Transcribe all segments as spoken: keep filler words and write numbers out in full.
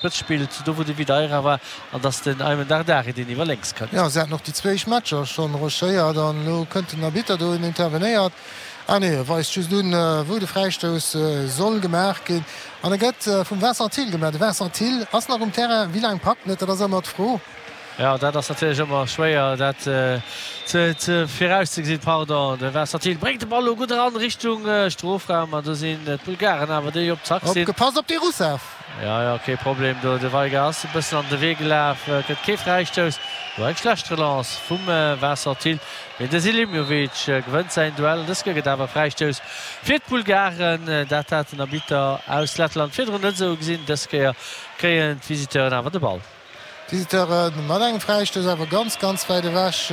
Spëtz spillt, do wou de Videira war, an dass den Aymen Dardari deen iwwer lénks kënnt. Jo, se haten och déi zwéi éischt Matcher schonn rushéiert an elo kënnt den Arbitter do en intervenéiert. Ah nee, e weist just un, wou de Fräistouss soll gemaach ginn an e gëtt vum Vincent Thill gemaach. De Vincent Thill ass nach um Terrain. Wéi laang packt en et, dat ass ëmmer d'Fro. Jo, dat ass natierlech ëmmer schwéier, dat ze virauszegesinn. Pardon, de Vincent Thill bréngt de Ball elo gutt eran Richtung Strofraum an do sinn d'Bulgaren awer, déi op Zack sinn. Opgepasst op de Rusev! Jo, jo, kee Problem do. De Veiga ass e bëssen an de Wee gelaf, gëtt kee Fräistouss. Do eng schlecht Relance vum Vincent Thill, mee de Selimovic gewënnt säin Duell an dës Kéier gëtt awer Fräistouss fir d'Bulgaren. Dat hat den Arbitter aus Lettland virdrun net esou gesinn. Dës Kéier kréien d'Visiteuren awer de Ball. D'Visiteure mat engem Fräistouss awer ganz, ganz wäit ewech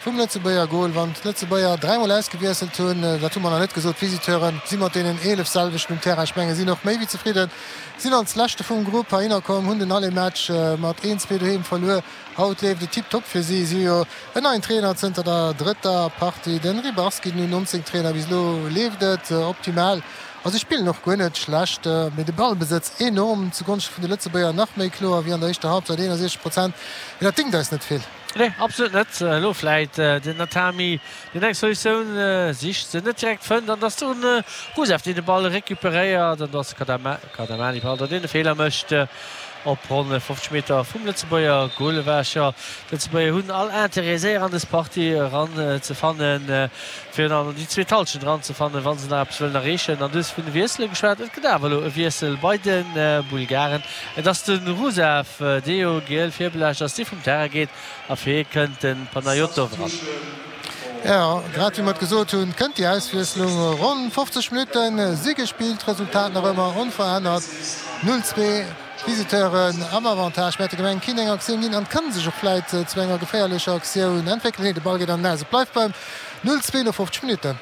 vum Lëtzebuerger Gol. Wann d'Lëtzebuerger dräimol ausgewiesselt hunn, dat hu mer nach net gesot, d'Visiteure si mat deenen eelef selwechten um Terrain. Ech menge sinn och méi wéi zefridden, sinn als Leschte vum Grupp heihinner komm, hunn den Aller-Match mat een, zwee doheem verluer. Haut leeft et tiptop fir si. Si hu jo en neien Trainer zënter der drëtter Partie, de Ribarski, den U nonzéng Trainer. Bis elo leeft et optimal. A si spillen och guer net schlecht, mee de Ballbesëtz enorm zu Gonschte vun de Lëtzebuerger, nach méi kloer wéi an der éischter Halbzeit, eenundsechzeg Prozent, mee dat dingt eis net vill. Nee, absolut net. Elo vläit den Natami, deen eng Solutioun sicht, se net direkt fënnt, an dass de Rusev, deen de Ball recuperéiert, an dass de Kadamani, pardon, deen de Feeler mécht op ronn fofzeg Meter vum Lëtzebuerger Gol ewech. Jo, d'Lëtzebuerger hunn all Interêt, séier an dës Partie eran ze fannen, fir dann déi zweet Hallschent eran ze fannen, wa se nach eppes wëllen erreechen. An du hues vun de Wiessele geschwat. Et gëtt awer elo e Wiessel bei de Bulgaren. Et ass de Rusev, dee jo giel virbelaascht ass, dee vum Terrain geet a fir hie kënnt de Panayotov eran. Jo, grad wéi mer et gesot hunn, kënnt déi Auswiesslung. Ronn fofzeg Minutte si gespillt, d'Resultat nach ëmmer onverännert, null zwee. D'Visiteuren am Avantage, mä et gouf eng keen eng Aktioun ginn an kann sech och vläit zu enger geféierlecher Aktioun entwéckelen. Nee, de Ball geet an den Aus. Et bleift beim null zwee no fofzeg Minutten.